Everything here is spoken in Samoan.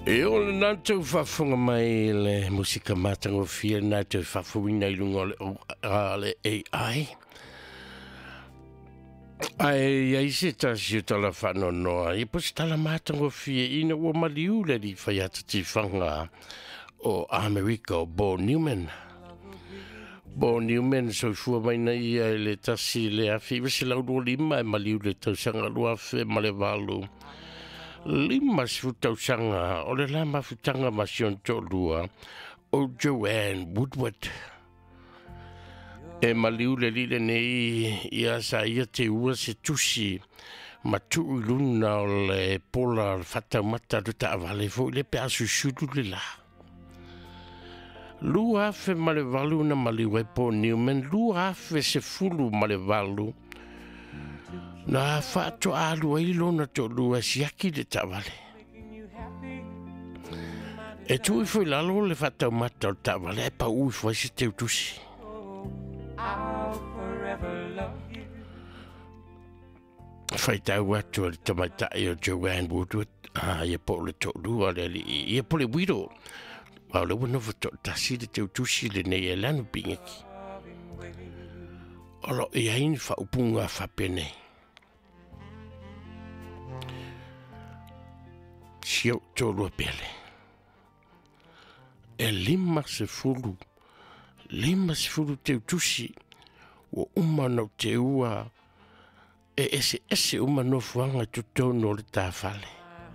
E o le nātou faafofoga mai le musika matagofie na te faafofoina i luga o le AI. Ae i ai se tasi o tala faanoanoa, ia po se tala matagofie ina ua maliu le alii faiata tifaga o Amerika o Bo Newman. Bo Newman soifua mai na ia i le 1925 e maliu le tausaga 2008. 50 tausaga o le la mafutaga ma si ona toalua o Joanne Woodward. E maliu le alii lenei ia sa ia teua se tusi ma tuu i luna o le pola o le faataumata le taavale foi le pe a susulu le la. 2008 na maliu ai Paul Newman, 2018 na faatoa alu ai lona toalua e siaki le taavale. E tuu ifo i lalo le faataumata o le taavale ae pau ifo ai se teutusi. Faitau atu a le tamaitai o Joanne Woodward, ia po o le toalua o le alii, ia po le widow. Aua o lea ua nofo toatasi le teutusi lenei e Lanu Pigeki. O lo o i ai ni faaupuga faapenei. Si ou toalua pele. E 50, 50 teutusi ua uma ona ou teua e eseese uma nofoaga i totonu o le ta fale.